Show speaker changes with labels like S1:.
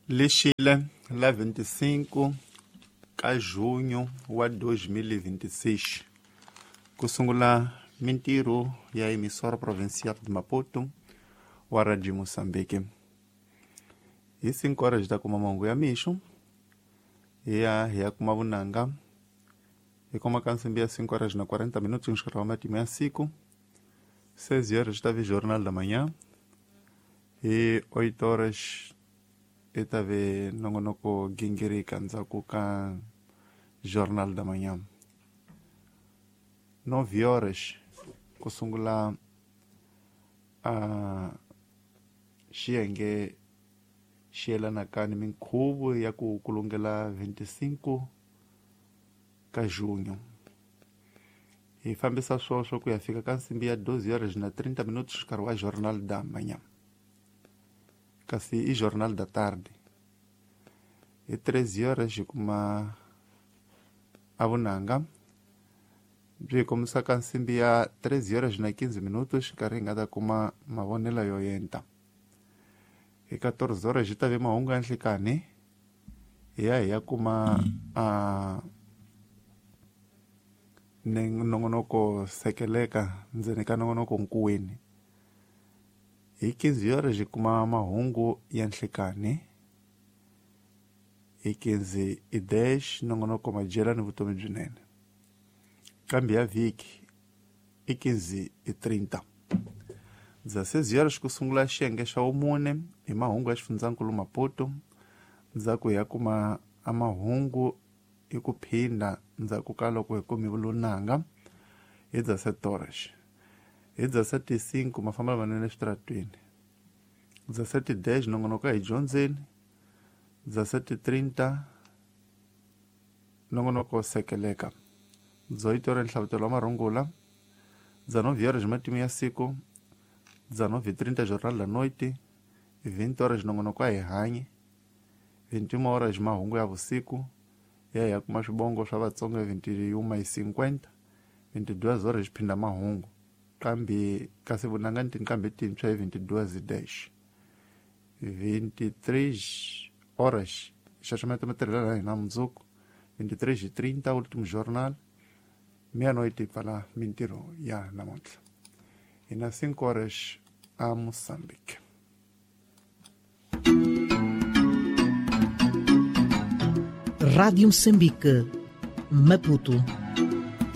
S1: Lixile la 25 ka junho wa 2026 ku sungula mintirho ya emissora provincial de Maputo wa Radio Moçambique. Hi 5 horas ta kuma mahungu ya mixo hi ya hi ya kuma vunanga hi kuma ka nsimbi ya 5 horas na 40 minutos nxikara wa matimu ya siku. 6 horas ta vi jornal da manhã hi 8 horas i ta ve nongonoko gingirika ndzhaku ka jornal da manhã. 9 horas ku sungula xiyenge xi yelanaka ni minkhuvo ya ku kulungela 25 ka junho. Hi fambisa swoswo ku ya fika ka nsimbi ya 12 horas na 30 minutos nkarhi wa jornal da manhã, kasi i jornal da tarde. Hi 13 horas hi kuma a vunanga byi hi kombisa ka nsimbi ya 13 horas na 15 minutos nkarhi hi nga ta kuma mavonelo yo yenta. Hi 14 horas hi ta ve mahungu ya nhlikani hi ya hi ya kuma a nongonoko sekeleka ndzeni ka nongonoko nkuweni. Hi 15 horas hi kuma mahungu ya nhlikani. Hi 15:10 nongonoko madyela ni vutomi byinene. Kambe ya vhiki i 15:30. 16 horas ku sungula xiyenge xa vumune hi mahungu ya xifundzankulu Maputo. Ndzhaku hi ya kuma a mahungu hi ku phinda ndzhaku ka loko hi kume vulunanga hi 17 horas. Hi 17:05 mafambelo manene eswitaratwini. 17:10 nongonoko hi dyondzeni. 17:30 nongonoko sekeleka. 18 horas nhlavutelo wa marungula. 19 horas matimu ya siku. 19:30 jornal da noite. 20 horas nongonoko a hi hanyi. 21 horas mahungu ya vusiku ya ya kuma swibongo swa Vatsonga 21:50. 22 horas phinda mahungu kambe kasi vunanga ni tinkambe tintshwa hi 22:10. 23 horas xaxameta matirhelo ya hina mundzuku. 23:30 último jornal. Meia-noite pfala mintirho ya namuntlha. Hi na 5 horas a Moçambique.
S2: Rádio Moçambique, Maputo.